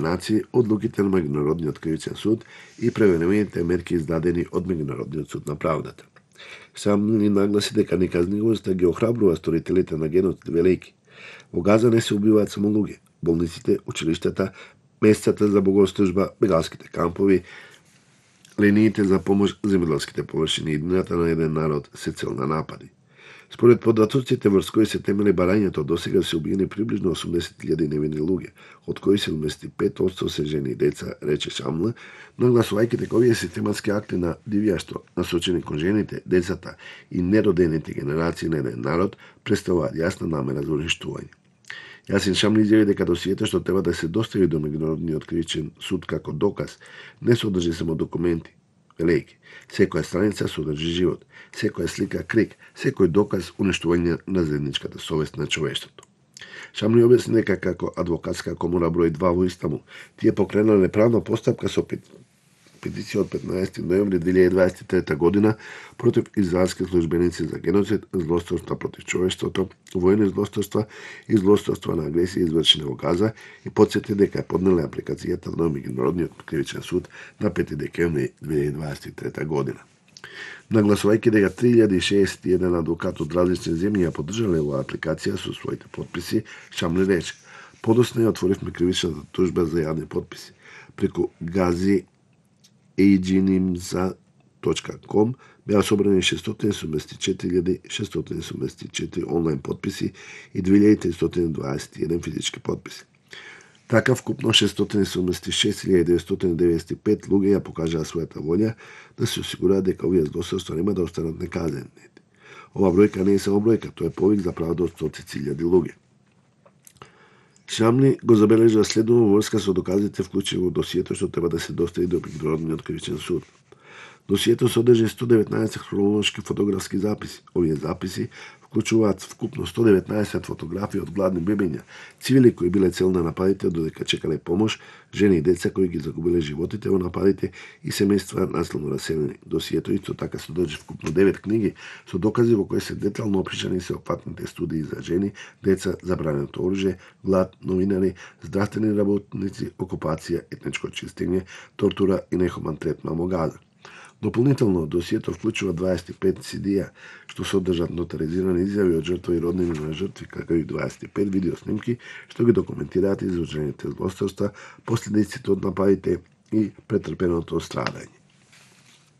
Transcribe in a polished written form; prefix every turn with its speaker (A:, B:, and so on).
A: нации, одлуките на Меѓународниот кривичен суд и превениваните мерки издадени од Меѓународниот суд на правдата. Шамли нагласи дека неказнивоста ги охрабрува сторителите на геноцид, велејќи: во Газа не се убиваат само луѓе, болниците, училиштата, местата за богослужба, бегалските кампови, линиите за помош, земјоделските површини и иднината на еден народ се цел на напади. Според податоците врз кои се темели барањето, досега се убиени приближно 80.000 невини луѓе, од кои 75% се жени и деца, рече Шамл, нагласувајќи дека овие систематски акти на дивјаштво насочени кон жените, децата и неродените генерации на еден народ представуваат јасна намера за уништување. Јасин Шамли изјави дека досието што треба да се достави до Меѓународниот кривичен суд како доказ не содржи само документи, велејќи: секоја страница содржи живот, секоја слика крик, секој доказ уништување на заедничката совест на човештвото. Шамли објасни дека како адвокатска комора број 2 во Истанбул, тие покренале правна постапка со петиција од 15 ноември 2023 година против израелски службеници за геноцид, злосторства против човештвото, војни злосторства и злосторства на агресија извршени во Газа и потсети дека поднеле апликацијата на Меѓународниот кривичен суд на 5 декември 2023 година. Нагласувајќи дека 3061 адвокат од различни земји ја поддржале оваа апликација со своите подписи, Шамли рече: подоцна ја отворивме кривичната тужба за јавни подписи. Преку gazi.agnimza.com беа собрани 674.674 онлайн подписи и 2321 физички подписи. Така вкупно 676.995 луѓе ја покажаа својата волја да се осигураат дека овие злосторства нема да останат неказнени. Ова бројка не е само бројка, тоа е повик за правда од 100.000 луѓе. Шамли го забележа следно врска со доказите вклучени во досието што треба да се достави до Меѓународниот кривичен суд. Досието содржи 119 хронолошки фотографски записи. Овие записи вклучуваат вкупно 119 фотографии од гладни бебиња, цивили кои биле цел на нападите додека чекале помош, жени и деца кои ги загубиле животите во нападите и семејства насилно раселени. Досието исто така содржи вкупно 9 книги со докази во кои се детално опишани сеопфатните студии за жени, деца, забраненото оружје, глад, новинари, здравствени работници, окупација, етничко чистење, тортура и нехуман третман во Газа. Дополнително, досието вклучува 25 CD-а, што содржат нотаризирани изјави од жртва и роднини на жртви, како и 25 видеоснимки, што ги документираат извршените злосторства, последиците од нападите и претрпеното страдање.